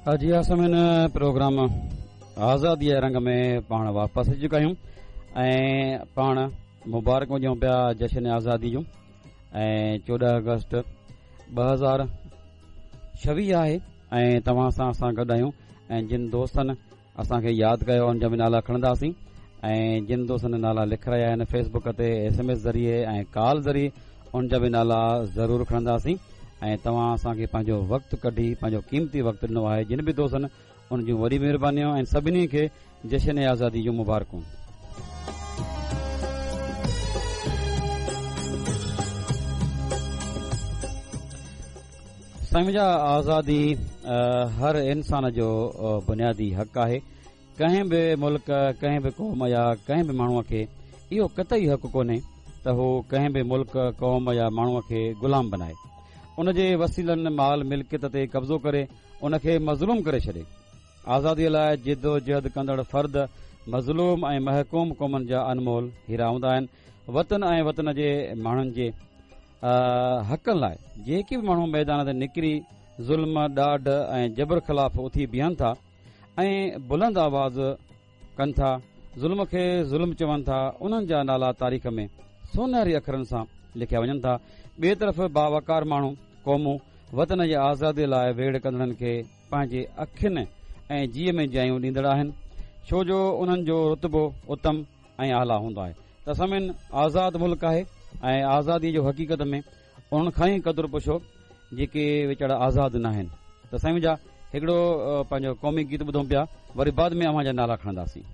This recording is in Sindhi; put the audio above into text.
جي ها سامعين پروگرام آزادي جي رنگ ۾ پاڻ واپس اچي چڪا آهيون ۽ پاڻ مبارڪون ڏيون پيا جشن آزادي جون ۽ 14 آگسٽ 2026 آهي ۽ توهان سان اسان گڏ آهيون ۽ جن دوستن اسان کي ياد ڪيو ان جا به نالا کڻنداسين ۽ جن دوستن نالا لکرايا آهن فيس بڪ تي ايس ايم ايس ذريعي ۽ ڪال ذريعي ان جا به نالا ضرور کڻنداسين ۽ توهان اسان کي پنهنجو وقت ڪڍي پنهنجو قيمتي وقت ڏنو آهي جن به دوستن ان جون وڏي مهربانيون ۽ سڀني کي جشن آزادي جون مبارڪون. سائين منهنجا آزادي هر انسان جو بنيادي حق آهي ڪنهن به ملڪ ڪنهن به قوم يا ڪنهن به ماڻهوء کي اهو قطعي حق ڪونهي ته هو ڪنهن به ملڪ قوم يا ماڻهوء کي غلام بنائي ان جي وسيلن مال ملڪيت تي قبضو ڪري ان کي مظلوم ڪري ڇڏي آزاديء لاء جدوجهد ڪندڙ فرد مظلوم ۽ محڪوم قومن جا انمول هيرا هوندا آهن وطن ۽ وطن جي ماڻهن جي حقن لاء جيڪي به ماڻهو ميدان تي نڪري ظلم، ڏاڍ ۽ جبر خلاف اٿي بيهن ٿا ۽ بلند آواز ڪن ٿا، ظلم کي ظلم چون ٿا، انهن جا نالا تاريخ ۾ سونهري اکرن سان لکيا وڃن ٿا. ٻئي طرف باوقار ماڻهو، قومون وطن جي آزادي لاء ويڙهه ڪندڙن کي پنهنجي اکين ۽ جيء ۾ جايون ڏيندڙ آهن، ڇو جو انهن جو رتبو اتم ۽ اعليٰ هوندو آهي ته سامعين آزاد ملڪ آهي ۽ آزادي جو حقيقت ۾ انهن کان ئي قدر پڇو جيڪي ويچارا آزاد نه آهن ته سائين منهنجا هڪڙو پنهنجو قومي گيت ٻڌون پيا وري بعد ۾ اوهان جا نالا کڻنداسين.